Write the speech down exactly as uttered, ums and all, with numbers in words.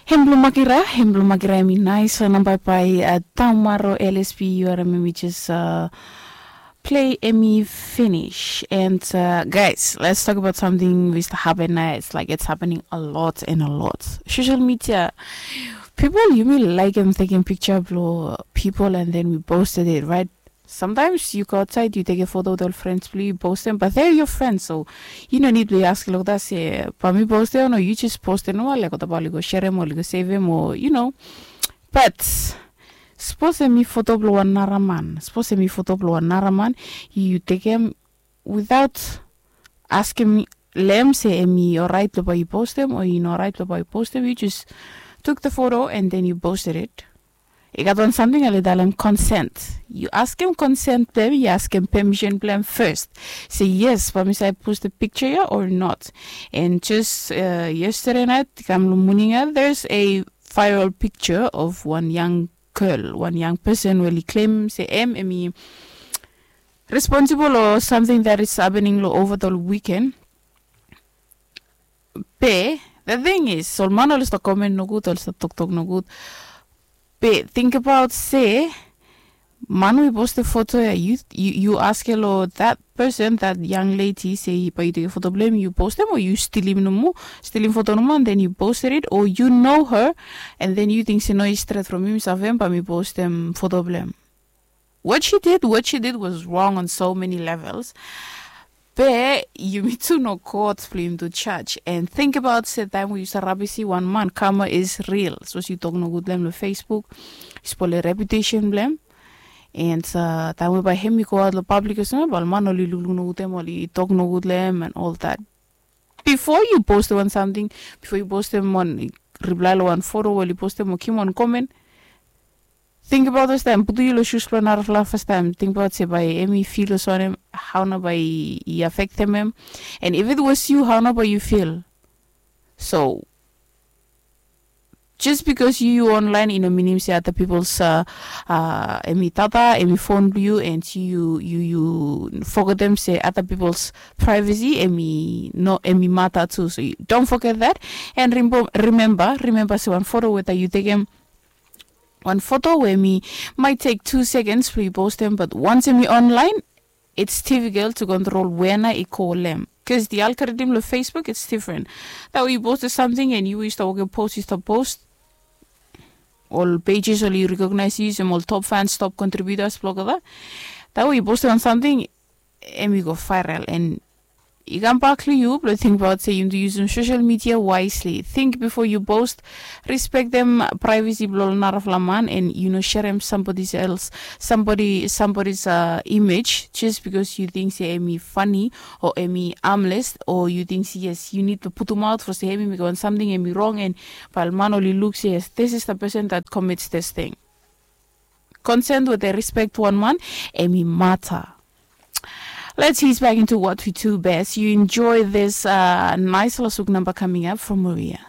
Hem blong makira, hem blong makira em i nais. Namba bai tamaro lsp, yu are memi jes play em i finish. And uh, guys, let's talk about something which happen now. It's like it's happening a lot and a lot. Social media, people, yumi like em taking picture blong people and then we posted it, right? Sometimes yu go outside, yu tekem foto with ol friends blong yu, yu postem, but they're your friends, so yu no nid blong yu askem olgeta se bai mi postem o no, yu jes postem nomo, like olgeta bai oli go sherem o oli go sevem o you know. But sapos em i foto blong wan nara man, sapos em i foto blong wan nara man, yu tekem without askem lem se em i orait blong bai yu postem o i no orait blong bai yu postem, yu jes took the photo and then you posted it. I gat wan samting oli talem consent. Yu askem consent blong em, yu askem permission blong em first. Se yes, bai mi save post the picture ya or not. And just uh, yesterday night, kam long morning ya, there's a viral picture of one young girl, one young person we oli claim se em em i responsible o something that is happening lo over the weekend. Be the thing is, ol man oli stap komen nogud, oli stap toktok nogud. Be think about se man we post the photo ya, you you, you ask lo that person, that young lady, se bai yu tekem foto blong em, yu postem o yu stilim nomo, stilim foto nomo and then you posted it, or you know her and then you think se no, i stret from mi, mi savem, bai mi postem foto blong em. What she did, what she did was wrong on so many levels. Be yumi tu no god blong yumi tu judge. And think about se taem we yu save rabisi wan man, karma is real. Sapos yu tok nogud blong em long Facebook, yu spole reputation blong em. And uh, taem we bai hem i go aot long public o samting, bai ol man oli lukluk nogud em, oli tok nogud long em and all that. Before yu postem wan samting, before yu postem wan reply long wan foto we oli postem o givim wan komen, think about those taem, putum yu long shoes blong narafala fastaem, think about se bai em i feel olsem wanem, hao nao bai i affectem em. And if it was you, hao nao bai yu feel? So just because yu yu online i no minim se other people's uh, uh, em i data, em i phone blong yu, and yu yu yu fogetem se other people's privacy em i no, em i mata tu. So you don't forget that. And remember, remember se wan foto weta yu tekem wan foto we mi might take two seconds blong yu postem, but once mi online, it's difficult to control wena i go long em, because the algorithm lo Facebook, it's different. That we posted something and you used to work post, used to post, ol pages oli recognize yu olsem ol top fans, top contributors blong olgeta. That we posted on something, em i go viral and i kam bak long yu blong tingbaot se yu nidu yusum social media wisely. Think before you post. Respectem privacy blong ol narafala man, and yu no sherem somebody else, somebody, somebody's uh, image just because yu ting se em i funny o em i harmless, o yu ting se yes, yu nid blong putumaot for se em i mekem wan samting em i wrong, and bae ol man oli luk se yes, this is the person that commits this thing. Consent we dem respect wan man, em i mata. Let's ease back into what we do best. You enjoy this uh, nice lasuk number coming up from Maria.